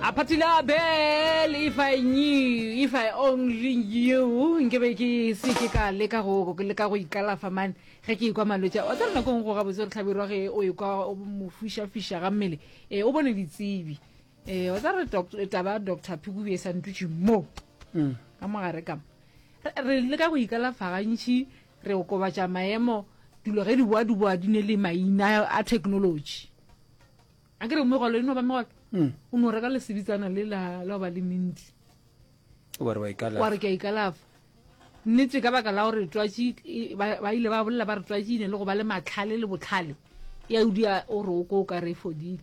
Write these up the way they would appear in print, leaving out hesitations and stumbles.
A Phathila Bell, if I knew, if I only knew, nke be ke se ke ka leka go leka go ikalafa man ge ke ikwa malwetši a. Wa tseba nako e nngwe go gabotse gore hlabirwa ge o ekwa o mo fišafiša ga mmele, eh, o bone ditsebi. Eh, wa tseba re taba ya Doctor Phikubi e sa ntutše mo ka mogare ka mo. Re, re leka go ikalafa gantši, re okobatša maemo, dilo ge di boa di boa di ne le maina a technology. A ke re megolo e no ba megolo. Mm. O no reka lesebitsana le la la ba le minti. Wa re wa ikalafa. Wa re ke a ikalafa. Nnete ka baka la gore twatši e, ba ba ile ba bolela ba re twatši e ne le go ba le matlhale le botlhale. Ya o dia o re o ko o ka re e fodile.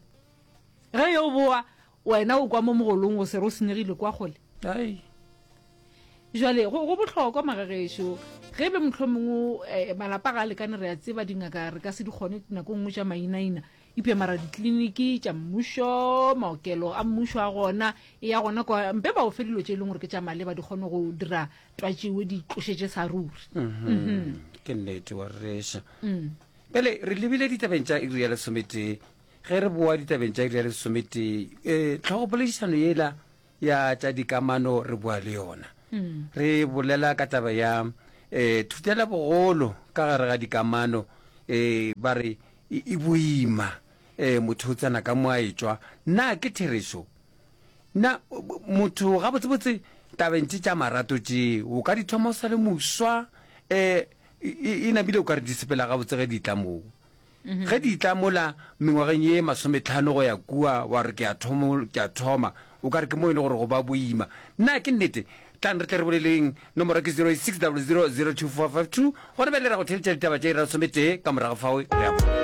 Ge yo boa wena o kwa mo mogolong go se re o senyegile kwa kgole. Ai. Jwale go go bohlokwa magagešo ge be mohlomongwe eh, malapa ga a lekane re a tseba dingaka re ka se di kgone nako nngwe tša mainaina Eupša mara dikliniki tša mmušo, maokelo a mmušo a gona, e ya gona kwa, mpe ba o fe dilo tše e leng gore ke tša maleba di kgone go dira twatšewe di tlošetše sa ruri. Mhm. Ke nnete wa rereša. Bjale re lebile ditabeng tša iri ya lesometee. Ge re boa ditabeng tša iri ya lesometee, um tlhogopoledišano yela ya tša dikamano re boa le yona. Re bolela ka taba ya um thutelabogolo ka gare ga dikamano, um ba re e, e boima um motho o tsena ka mo a etšwa. Na ke therešo? Na motho gabotsebotse tabeng tše tša marato tše o ka di thoma o sa le moswa um e namile o ka re di sepela gabotse ge di tla moo? Ge di tla mola mengwageng ye masometlhano go ya kua, wa re, Ke a thomo, ke a thoma. O ka re ke mo e le gore go ba boima. Na ke nnete? Tlang re tle re boleleng. Nomoro ke 086 00 02452. Gona bjale re ya go theeletša ditaba tša iri ya lesometee, ka morago fao re ya go.